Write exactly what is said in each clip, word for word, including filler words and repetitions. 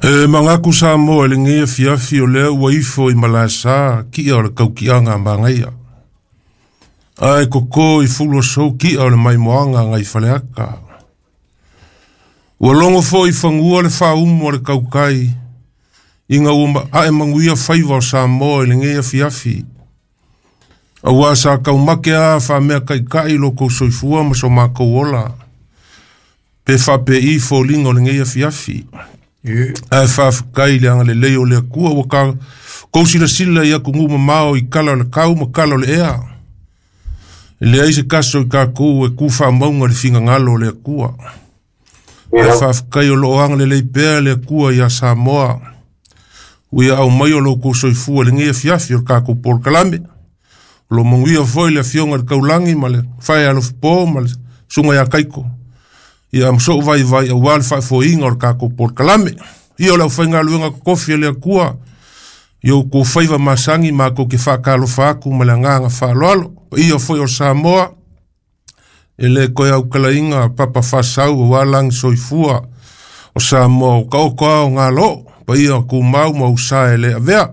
E mangaku Samoa i lenei afiafi o lea ua ifo i Malaesa ki'a o le tauki'aga a magaia. Ae koko i fuluasou ki'a o le maimoaga agai faleata. Ua logo fo'i fagua le faaumu a le tautai ina ua a'e manuia faiva o Samoa i lenei afiafi. Auā sa taumate a faamea ta'ita'i lo tou soifua ma so matou ola. Pe faape'i foliga o lenei afiafi. Ae faafetai i le agalelei o le Atua ua ka kou silasila i atunuu mamao i kala o le tau ma kala o le ea. E leai se taso i tatou e tu faamauga i le finagalo o le Atua. Ae faafetai o loo agalelei pea le Atua iā Samoa. Ua ia aumai o lo outou soifua i lenei afiafi o le tatou polokalame. O lo manuia foi le afioga i le taulagi ma le fae alofopō ma le susuga ia Kaiko. Ia ma so'u vaivai auā le faafoeina o le tatou polokalame. Ia o le aufaigaluega totofi a le Atua i outou faiva masani matou te faatalofa atu ma le agaga faaaloalo. Paia foi o Samoa e lē toe autalaina papa faasau auā lagi soifua o Samoa o taoto a o galoo paia o tumau ma usa e lē avea.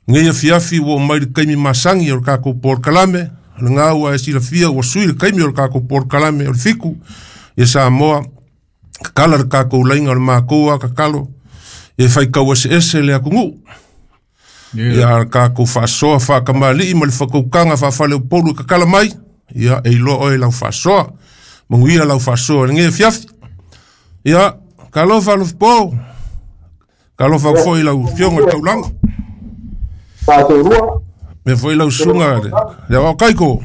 Lenei afiafi ua oo mai le taimi masani o le tatou polokalame. O lena ua e silafia ua sui le taimi o le tatou polokalame o le fitu ia Samoa tatala le tatou laina o le matou a tatalo ia faitau eseese le atunuu. Ia le tatou faasoa faakamali'i ma le fatautaga faafaleupolu e tatala mai ia e iloa oe lau faasoa. Manuia lau faasoa i lenei afiafi. Ia talofa alofopō, talofa atu foi i lau afioga i le taulaga. Mea foi lau susuga le le aoao Kaiko.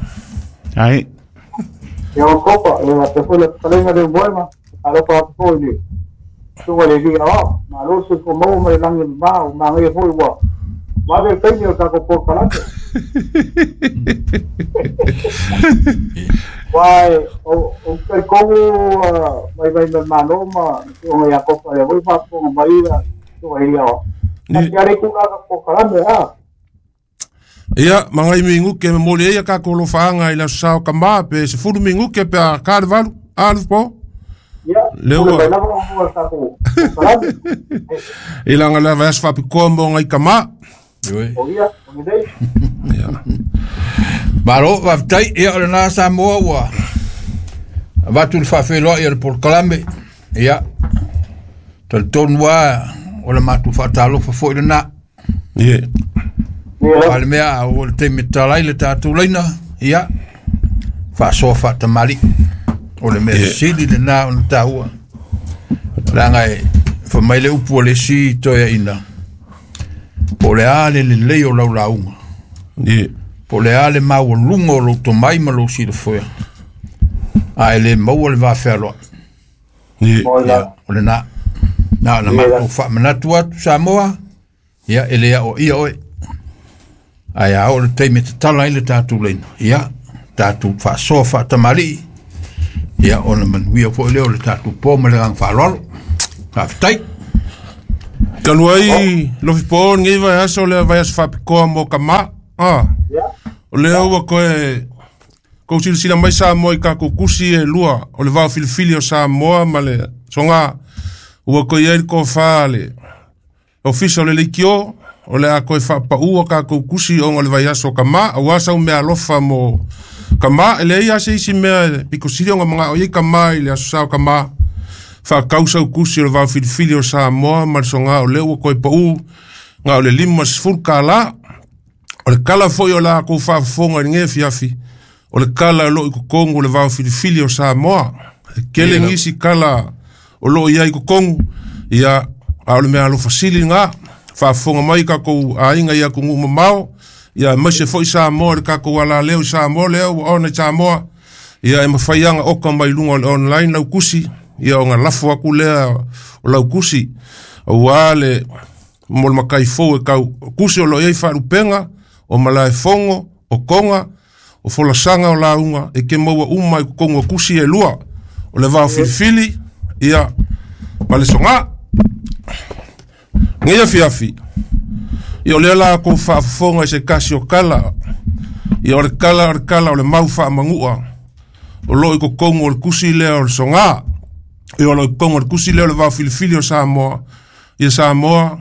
Ai. Ia o kopa, e a te foi le talenga le moema, alofa atu foi le susuga le alii aoao, malo se fo maua mai le lagi e mamā, ua magaia foi ua vave le taimi o le tatou polokalame. Uae o ou talitonu vaivai mai le Malo ma le susuga ia Kopa lea foi faafofoga mai le susuga i le alii aoao. Ni Ate ale tulaga polokalame a. Ia, ma nai minute momoli ai ia tatou alofaaga i le aso sa o kamā pe sefulu minute pe a ta le valu. A alofopō? Ia, Lea pule ua mai lava ona o le tatou polokalame. I laga le vaiaso faapitoa mo nai kamā. Ioe. O ia, o lenei. Ia. Malo, faafetai. Ia o lena Samoa ua avatu le faafeiloai o le polokalame. Ia, talitonu lava o le matou faatalofa foi lena. Ie. Ia, A le mea a ua le taimi e tatala ai le tatou laina, ia, faasoa faatamalii. O le mea Ie. sili lena ona taua. Leaga e fai mai le upu a le isi toeaina, po o le a le lelei o lau lauga, Ie. po o le a le maualuga o lou tomai ma lou silafoea, a e le maua le vafealoai. Ie. o Ia, la. o lena. Na ona matou faamanatu atu Samoa, ia e le aoaia oe. Ae a oo le taimi e tatala ai le tatou laina, ia, tatou faasoa faatamalii, ia ona manuia foi lea o le tatou po ma le agaga faaaloalo. Faafetai. Talu ai lofipō lenei vaiaso lea vaiaso faapitoa mo kamā. A Ia, o lea ua toe kou silasila mai Samoa i tatou tusi e lua o le vaofilifili o Samoa ma le sogā. Ua toe i ai le tofā a le Ofisa o le Leitio o le a toe faapaua tatou tusi ona o le vaiaso o kamā auā sau meaalofa mo kamā. E leai lava se isi mea e pito sili ona maga'o i ai kamā i le aso sa o kamā. Faatau sau tusi o le vaofilifili o Samoa ma le sogā o lea ua toe pa'u na o le lima sefulu kālā. O le kala foi o la kou faafofoga i lenei afiafi o le kala o loo i totonu o le vaofilifili o Samoa. E kele Ia lava. nisi kala o loo i ai i totonu ia a o le mea alofa sili lena. Faafofoga mai tatou aiga i atunuu mamao ia aemaise foi Samoa i le tatou alaleo i Samoa lea ua ona i Samoa. Ia e mafai aga oka mai luga o le online lau tusi ia ona lafo atu lea o lau tusi auā le mo le matai fou e tau tusi o loo i ai faalupega o Malaefogo o Toga o folasaga o lauga e ke maua uma i totonu o tusi e lua o le vaofilifili ia ma le sogā. Lenei afiafi ia o lea la kou faafofoga i se tasi o kala ia o le kala o le kala o le mau faamanu'a o loo i totonu o le tusi lea o le sogā. E o lo kongo le kusi leo le vao filifili o Samoa. Ia Samoa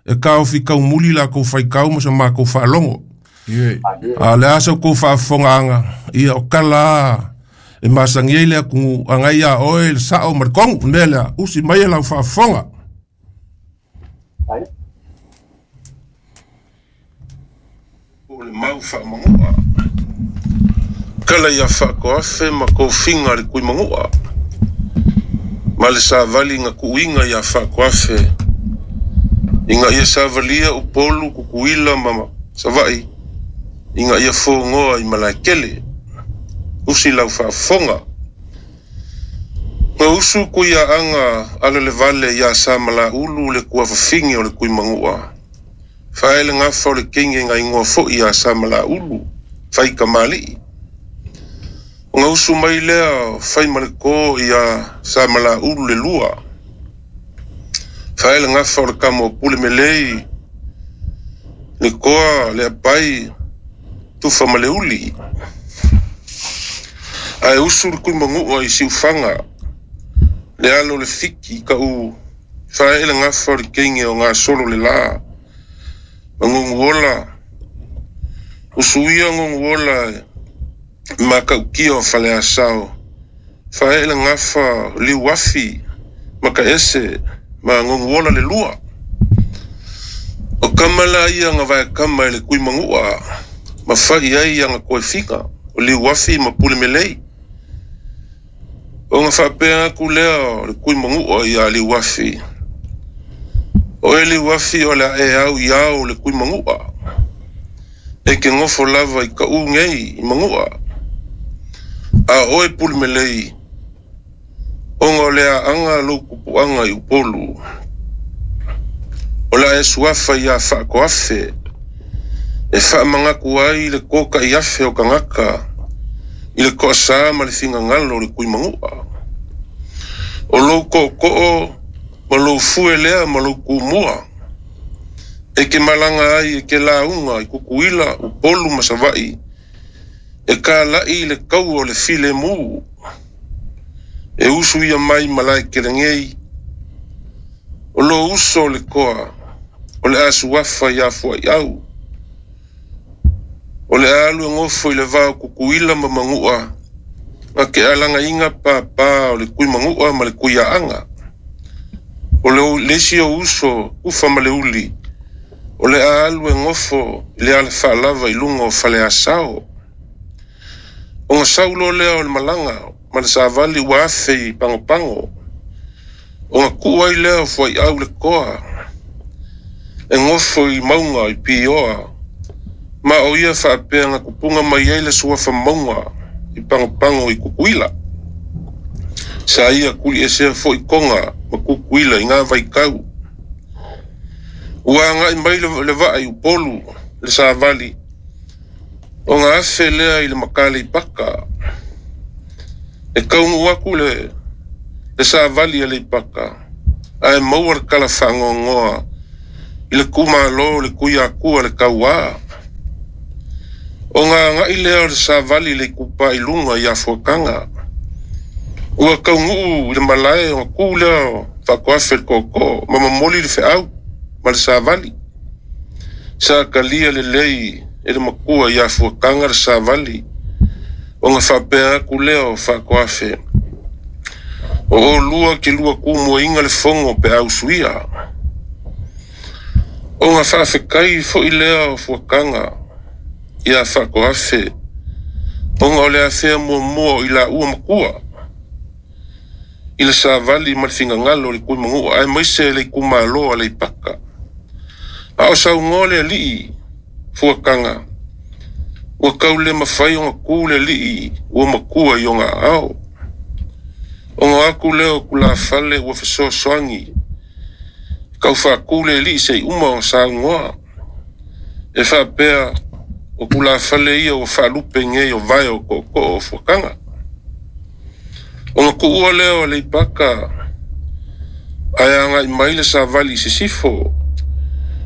e kaofi kaumuli la kou faikau ma sa makou faalogo. A le a sa kou faafofogaaga ia o kala e masagi ai le atunuu agai iā oe le sao ma le kogu. Le mea lea usi mai e lau faafofoga. O le mau faamanu'a kala ia faakoafe ma kofiga le kuimanu'a ma le savali ga kuuiga ia faakoafe iga ia savalia Upolu Kukuila ma Sava'i iga ia fogoa i Malaekele. Usi lau faafofoga. Ga usu kuiaaga alalevale iā Samalaulu le kuafafine o le kuimanu'a. Fae le gafa o le keige ga igoa fo'i iā Samalaulu faikamali'i. O ga usu mai lea fai ma le kō iā Samalaulu le lua. Fae le gafa o le kama o pule melei le koa le apai tufa ma le uli. Ae usu le kuimanu'a i siufaga le alo le fiki ka'u fae'e le gafa o le keige o gasolo le lā ma goguola. Usuia goguola makaukia o Faleasao. Fae'e le gafa liuafi ma ka'ese ma goguola le lua. O kama la ia ga vaekama i le kuimanu'a ma fa'i ai aga koefiga o liuafi ma pule melei. O ga faapea aku lea o le kuimanu'a iā liuafi. O e liuafi o le a'e au i ao le kuimanu'a. E ke gofo lava i ka'u nei i manu'a. A oe pule melei ona o le aaga lou kupu'aga i Upolu. O le a'e suafa iā faakoafe e faamagaku ai le koka'i afe o kagaka i le ko'asā ma le figagalo o le kuimanu'a. O lou ko'oko'o ma lou fue lea ma lou kumua e ke malaga ai e ke lauga i Kukuila Upolu ma Sava'i e kala'i le kaua o le filemu e usu ia mai Malaekelegei. O lou uso o le koa o le a suafa iā fuai'au. O le a alu e gofo i le vao Kukuila ma Manu'a ga ke alagaiga pāpā o le kuimanu'a ma le kuiaaga. O le le isi o uso ufa ma le uli o le a alu e gofo i le alafaalava i luga o Faleasao. O ga saulo lea o le malaga ma le savali ua afe i Pagopago. O ga ku'u ai lea o fuai'au le koa e gofo i mauga i Pioa ma o ia faapea ga kupuga mai ai le suafa mauga i Pagopago i Kukuila. Sa ia kuli'esea fo'i Koga ma Kukuila i gā vaikau. Ua aga'i mai le va'a i Upolu le savali. O ga afe lea i le Makaleipaka. E kaunu'u aku le le savali a Leipaka ae maua le kala faagoagoa i le kumālō le kuiakua le kauā. O ga aga'i lea o le savali le ikupa i luga iā Fuakaga. Ua kaunu'u i le malae ona kū lea o faakoafe le ko'oko'o ma momoli le fe'au ma le savali. Sa kalia lelei e le makua iā Fuakaga le savali. O ga faapea aku lea o faakoafe. O olua ke lua kumuaiga le fogo pe ausuia. O ga faafekai fo'i lea o Fuakaga iā faakoafe. Ona o le afea muamua o i laua makua i le savali ma le figagalo o le kuimanu'a ae maise le ikumālō a Leipaka. A o saugoa le ali'i Fuakaga ua kau le mafai ona kū le ali'i ua makua i ona aao. Ona aku lea o kulafale ua fesoasoagi kaufaakū le ali'i se'i uma ona saugoa. E faapea o kulafale ia ua faalupe nei o vae o ko'oko'o o Fuakaga. Ona ku'ua lea o Leipaka ae aga'i mai le savali i sisifo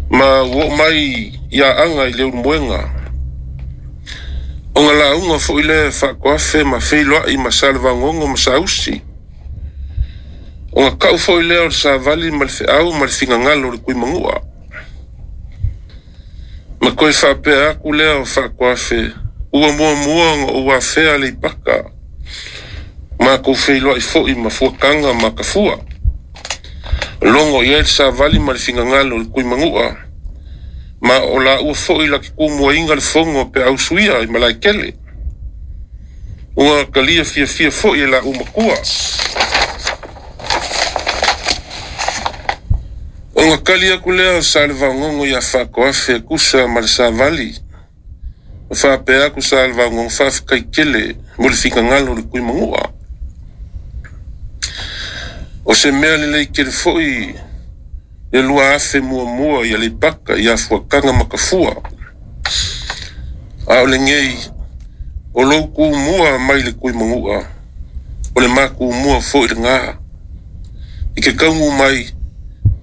ma ua oo mai ia aga i le ulumoega. O ga lauga fo'i lea faakoafe ma feiloa'i ma Salevagogo ma Sausi. Ona kau foi lea o le savali ma le feau ma le figagalo o le kuimagu'a. Ma koe faapea aku lea o Faakoafe, ua muamua ona ou afea le ipaka. Makou feiloai fo'i ma fuakaga ma kafua. Logo i ai le savali ma le figagalo o le kuimagu'a. Ma o la ua fo'i la ke kumuaiga le fogo pe ausuia i malaekele. Ua kalia fiafia fo'i e la umakua. Ona kali aku lea o sa le vaogogo ia Faakoafe kusa ma le savali. O faapea aku sa le vaogogo faafekaikele mo le figagalo o le kuimagu'a. O se mea lelei kele fo'i le lua afe muamua ia Leipaka ia fuakaga ma kafua. A o lenei o lou kumua mai le kuimagu'a o le makumua fo'i legā. I ke kaugu mai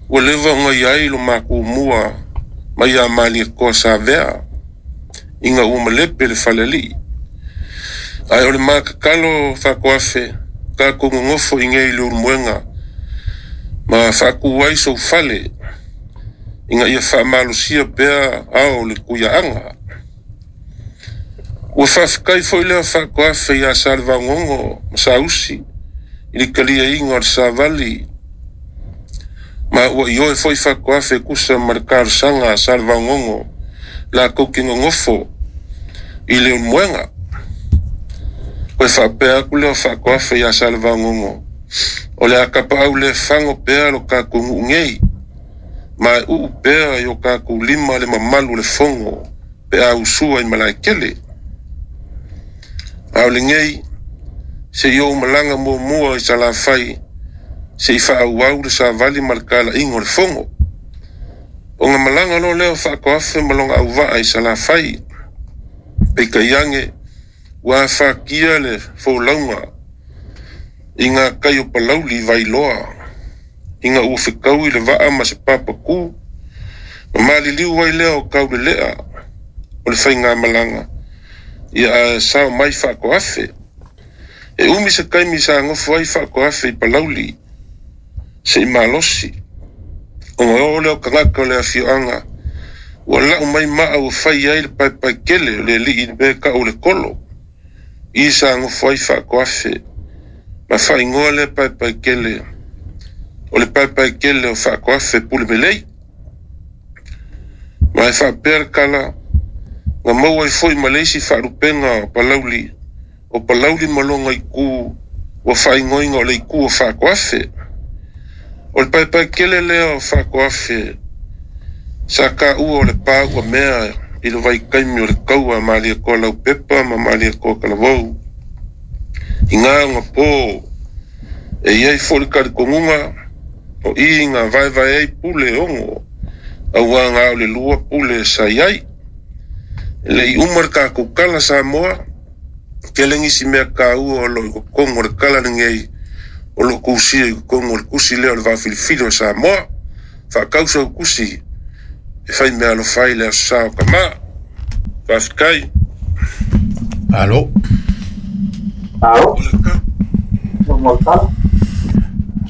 ua leva ona iai lo makumua mai ia Malietoa Savea ina ua malepe le faleali'i. Ae o le makakalo Faakoafe tatou gogofo i nei le ulumoega ma faatu ai sou fale ina ia faamalosia pea ao le kuiaaga. Ua faafetai foi lea Faakoafe ia Salevaogogo ma Sausi i le kaliaiga o le savali. Ma ua ioe foi Faakoafe kusa ma le talosaga a Salevaogogo latou te gogofo i le ulumoega. Koe faapea aku lea o Faakoafe ia Salevaogogo o le a kapaau le fago pea lo kakou nuu nei. Ma e uu pea i o kakou lima le mamalu o le fogo pe a usua i malaekele. A o lenei se i ou malaga muamua i Salafai se i faaauau le savali ma le kalaiga o le fogo. Ona malaga loa lea o Faakoafe ma lona auvaa i Salafai. Peitai age ua afatia le folauga i ngā kai o Palauli i Vailoa ina ua fekaui le vaa ma se papakū. Ma maliliu ai lea o Kaulelea o le faigamalaga ia ae sao mai Faakoafe. E umi se taimi sa gofo ai Faakoafe i Palauli se i malosi. Ona oo lea o tagata o le afioaga ua lau mai maa ua fai ai le paepaekele o le alii mea tau o le kolo. I sa gofo ai Faakoafe ma faaigoa lea paepaekele o le paepaekele o Faakoafe Pulemelei. Ma e faapea le tala na maua ai foi ma le isi faalupega o Palauli o Palauli ma lona itu ua faaigoaina o le itu o Faakoafe. O le paepaekele lea o Faakoafe sa taua o le paua mea i le vaitaimi o le taua a Malietoa Laupepa ma Malietoa Talavou. I ngā ona pō e iai foi le talitonuga o i na vaevae ai pule ono auā na o le lua pule sa iai. E le'i uma le tatou tala Samoa tele nisi mea taua o loo i totonu o le tala lenei o loo tusia i totonu o le tusi lea o le vaafilifili o Samoa. Faatausa o tusi e fai mea alofa ai le aso sa o kamā. Faafetai. Alo. Alo.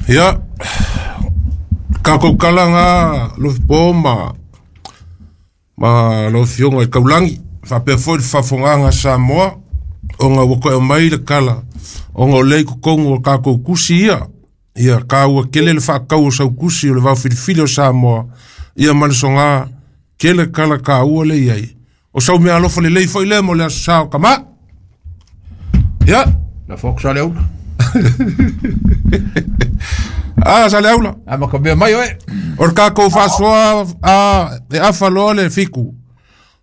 Ia, kakou kala ngā lofipo ma ma lau afioga i Kaulangi. Faapea foi le faafogaga Samoa ona ua koe mai le kala ona o lea i totonu o kakou kusi ia. Ia kaua kele le faakau o sau kusi o le vaofilifili o Samoa. Ia ma le soga kele kala kaua le iai. O sau mea alofa lelei foi lea mo le aso sa o kamā. Ia. La foku sa le aula. Ah, sa le aula. A ma ka mea mai oe. O le kakou faasoa a e afa loa le fiku.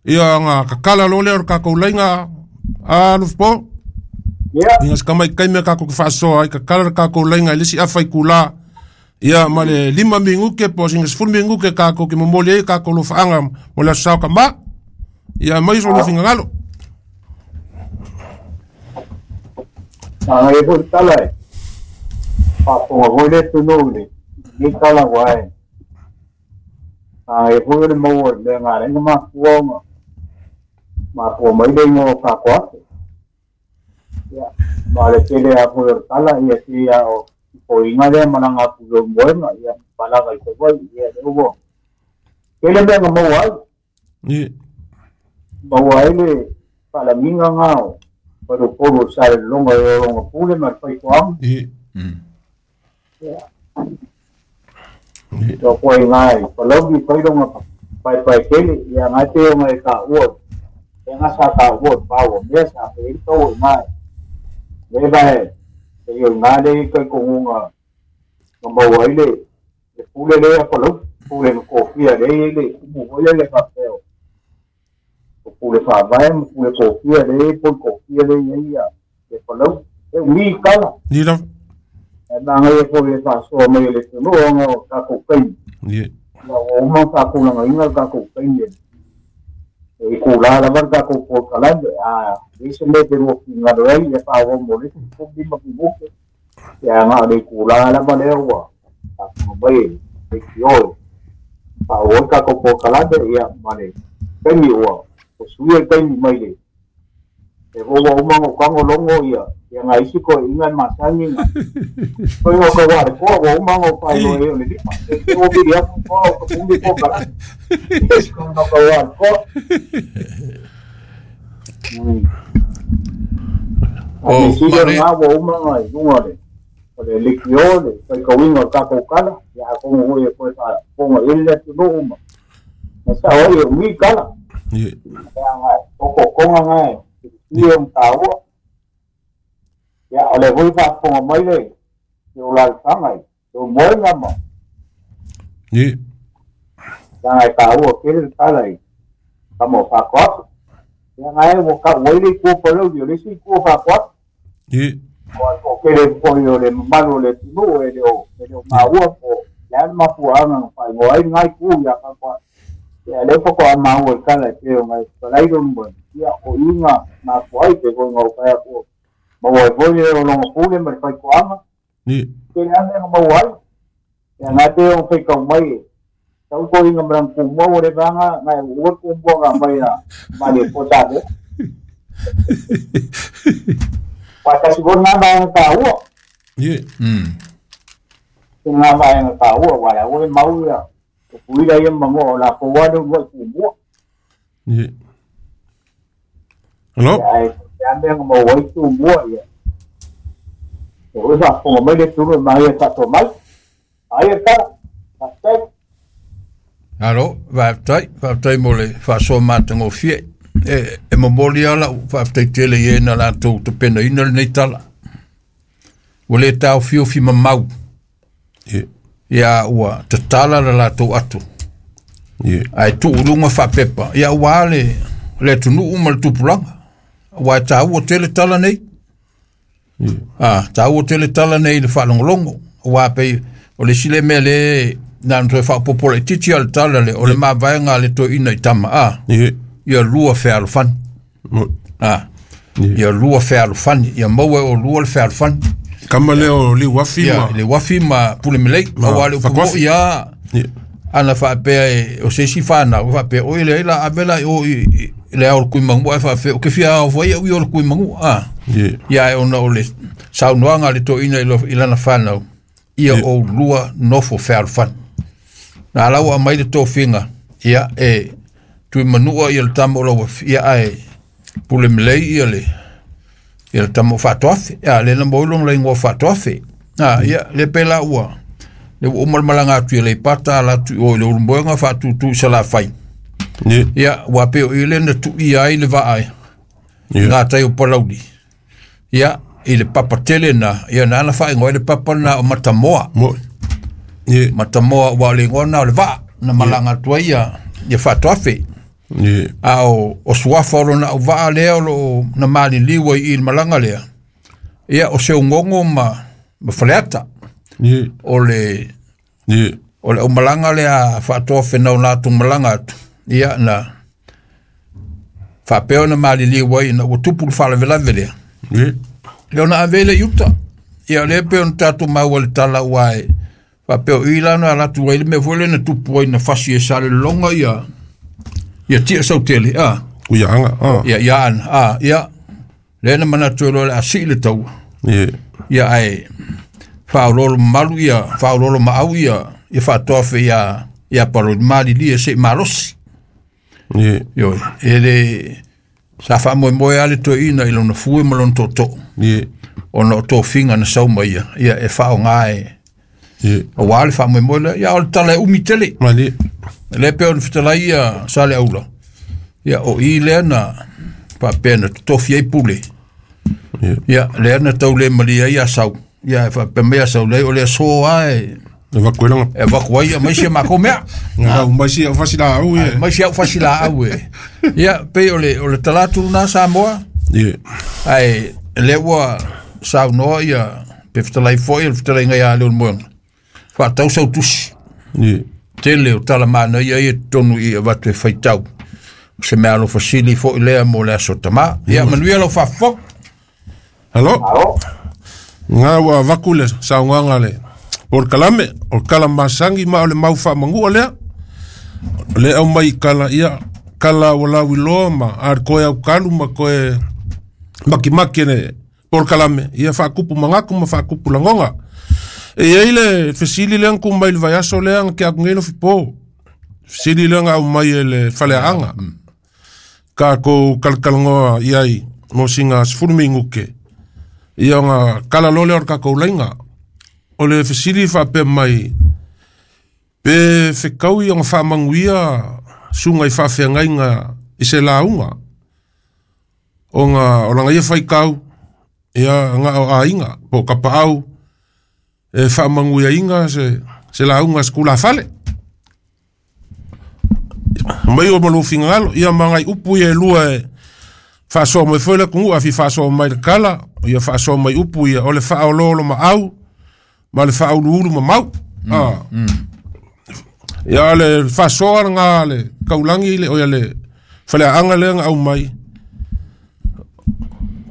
Ia nga kakala loa lea o le kakou laiga a Lufipo. Ia. Ina se kamai mea kakou ke faasoa ai kakala le kakou laiga i le isi afa i kulā. Ia ma le lima minuke po o sina sefulu minuke kakou ke momoli ai kakou lofaaga mo le aso sa o kamā. Ia mai so lofigagalo. Manaia foi le tala e faafofoga foi le atunuu i lenei tala ua e manaia foi o le maua i le mea na ala ai ona mafua ona mafua mai le igoa o Faakoafe. Ia ma le tele lava foi o le tala ia pei lava o o inga lea malaga atu i Leulumoega ia malaga i Savaii ia lea ua tele mea na maua ai Ie. Maua ai le faalagiga gā o faleupolu o le Salelologa e ologa pule ma le faitoaga. Ie. Ia Ie. Toa i ngā i Palauli fai longa paepae tele ia ngai pe o ngai ka ua e ngā sa ka ua pau mea sa pe i tau i ngā le vai e i ngā le kai kongunga nga maua ai le le pule le a Palauli pule no kofia le i le kumu hoi le ka peo o pule whaavae ma pule kofia le pule kofia le i ia le Palauli e umi kala Ie lava. E manga e foi le whaasoa mai le tunu o ngā o tākou kaimi. Ie. La o uma tākou langa inga tākou kaimi. E ku la lava tākou po kalande a i se me te ro ki ngā rei e wha mo le ku bi ma ki buke. Ia ngā le ku la lava le ua. Tākou mai e ki oi. Wha o tākou po kalande ia ma le kaimi ua. O sui e kaimi mai le. E hoa uma o kango longo ia. Ia ngā isi ko inga masangi ngā. Ko inga ko ware koa, wa uma o pai lo e o le lima. E te o biri apu koa o ka pumbi ko kala. Isi ko nga ka ware koa. A O, me sile mare- ngā wa uma ngā i lunga le. O le likio le, kai ka winga o tākou kala. Ia kongo hoi e koe wha kongo ele atu no uma. Na sa oi e umi kala. Ie. Ia ngā, o ko konga ngā e. Ia o tāua. Ia, o le hui whaafonga mai le, i o lalafanga i, o moenga ma, Ie. ia ngai tāua kele le tala i, ka mo whaakoato. Ia ngai o ka uaile i kua palauli, o le isi i kua whaakoato. Ie. O a o kele foi o le mamalu o le tunu, e le o, e le o maua po, le ana mafuaanga na whaingoa ai ngai ku ia ka kwa. Ia le whako a maua i kala i te o ngai whalairo mwa, ia o inga mafua ai te koi ngau whaia kua. Maua e foi le o longa pule ma le whaikoanga. Ie. Ke le ame nga mau ai. Ia ngā te o whaikau mai e. Tau ko inga marang kumua o le vanga, ngai ua kumua ngā mai a ma le pota le. Wā kasi ko ngā mai nga tā ua. Ie. Mm. Ke ngā mai nga tā ua, wā la ua mau ia. O puira ia mango o la kowa le ua kumua. Ie. Alo? Ia e te ame nga mau ai kumua ia. E ua whaafonga mai le turu mai e whaato mai. Ai e kara. Whaatai. Alo, faafetai, faafetai mo le faasoa matagofie. E, e momoli ala faafetai tele i e na latou tapenaina lenei tala. Ua lē taofiofi mamau. Ie. Ia ua tatala le latou atu. Ie. Ae tuuluga faapepa. Ia ua le, le atunuu ma le tupulaga. Ua e tāua tele tala nei. Ie. Ah, tāua tele tala nei i le faalogologo. Ua pei, o le isi le mea le na na toe faapopola itiiti a le tala le, o le mavaega a le toeaina i tama. Ah, Ie. ia lua fealofani. Mo. Ah, Ie. ia lua fealofani. Ia maua e o lua le fealofani. Kama lea o Liuafi Ia, ma. le uafi ma pule melei. Ma Auā le upu Fakuafi. mo'i a, Ie. ana faapea e, o se isi whanau, faapea, oi le la ave la o i, i- le ao le kui mangu, ai faapea, o ke fia ao foi au i o le kui mangu, ah. Ie. Ia e ona o le saunoaga a le toeaina i lo- i lana whanau, ia Ie. o lua nofo fealofani. Na lau a mai le tofiga, ia e tui manua ia le tama o lau afi, ia ae pule melei ia le, ia le tama o whaatoafe, ia le na moilong la ingoa whaatoafe. Ah, ia le pela ua, le ua uma le malaga atu i le pata ala atu i o i le ulumoega whaatutu i Salafai. Ie. Ia, ua peo i le na tui ai le vaai, Ie. ngā tai o Palauli. Ia, i le papa tele na, ia na ana whaingoa i le papa na o Matamoa. Mo. Ie. Matamoa ua le ingoa na o le vaa, na malaga atu ai ia, ia whaatoafe. Ie. A o, o suafa o lona au vaa lea o loo na maliliu ai i le malaga lea. Ia, o Seugogo ma, ma Faleata. Ie. O le, Ie. o le aumalaga lea faatoafe nau latou malaga atu. Ia na faapea ona maliliu ai ina ua tupu le faalavelave lea. Ie. Le ona ave le i uta. Ia lea pe ona tatou maua le tala ua e faapea o i la na alatu ai le mea foi lea na tupu ai na fasi e Salelologa ia ia tia sautele a. Uia anga. Ah. Ia ia ana a ia lea na manatu ai loa le a sii le taua. Ie. Ia ae Faaoloolo mamalu ia faaoloolo maau ia ia faatoafe ia ia palolimalilia e se'i malosi. Ie. Ioe, e le sa faamoemoe a le toeaina i lona fue ma lona tootoo Ie. ona o tofiga na sau mai ia ia e faaaogā e Ie. auā le faamoemoe lea. Ia o le tala e umi tele Malie. lea pei ona fetalai ia sa le aula ia o i lea na faapea na totofi ai pule. Ie. Ia lea na taule malie ai asau ia e faapea mai asau leai o le aso a e E vakuelaga. e avaku ai mai sia makou mea. Ngau mai si au fasilaau ie. Mai sia au fasilaau e. Ia pei o le o le talatu lena Samoa Ie. ae lea ua saunoa ia pe fetalai foi o le fetalaiga ia Leulumoega faatau sau tusi Ie. tele o tala manaia ia totonu i avatu e faitau se mea alofasili foi lea mo le aso tamā. Ia manuia lau faafofoga. Alo. Alo. Ngā ua vaku le saugaga le polokalame o le kala masagi ma o le mau faamagua lea. O le au mai kala ia kala ua lauiloa ma a le koe aukalu ma koe makimaki le polokalame ia faakupu magaku ma faakupu lagoga. E iai le fesili lea na ku mai le vaiaso lea na ke aku nei lofipō. Fesili lea na au mai e le faleaaga. Kākou kalakalanoa iai mo siga sefulu minuke. Ia ona kala loa lea o le kakou laiga. O le fesili faapea mai pe fekaui ona faamanuia suga i faafeagaiga i se lauga. Ona o laga ia faikau ia ga o aiga po o kapaau e faamanuiaina se se lauga se kulafale. Mai o malo fingalo ia magai upu ia e lua e faasoa mai foi le atunuu a fia faasoa mai le kala ia faasoa mai upu ia o le faaoloolo maau ma le faauluulu mamau. Ah. Ia le faasoa lena le kaulagi le oia le faleaaga lea na au mai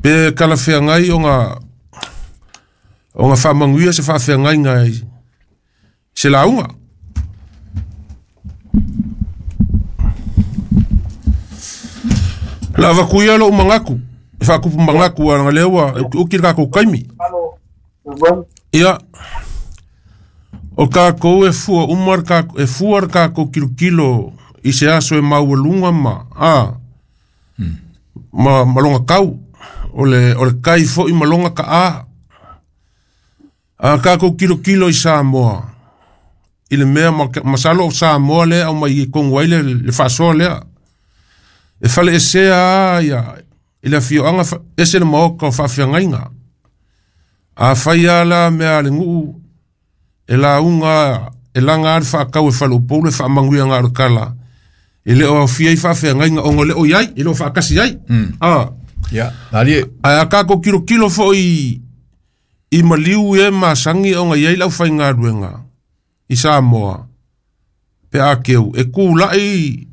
pe kalafeagai ona ona faamanuia se faafeagaiga i se lauga. La vakuia lou magaku e faakupu magaku a lea ua uki le kakou kaimi. Alo. Leulumoega. Ia o kakou e fua uma le kakou e fua le kakou kilokilo i se aso e maualuga ma a ma ma loga kau o le o le kai fo'i ma loga ka'a. A kakou kilokilo i Samoa i le mea ma masalo o Samoa lea au mai i kogu ai le le faasoa lea. E fale esea a ia i le afioaga ese le maoka o faafeagaiga. A fai a la mea a le nuu e lauga e laga a le faakau e faleupolu le faamanuiaga o le kala. E le o aofia ai faafeagaiga ona o le o iai e le o faakasi ai. A Ia alie. ae a kakou kilokilo fo'i i maliu e masagi ona iai le aufaigaluega i Samoa pe a keu e kula'i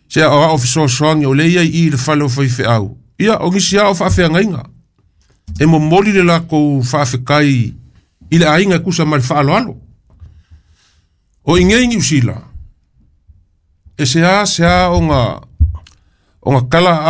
se aoao fesoasoani o lea iai i le fale o faifeau. Ia o nisi a o faafeagaiga e momoli le lakou faafekai i le aiga e kusa ma le faaloalo. O igei Niu Sila e se a se a ona ona kala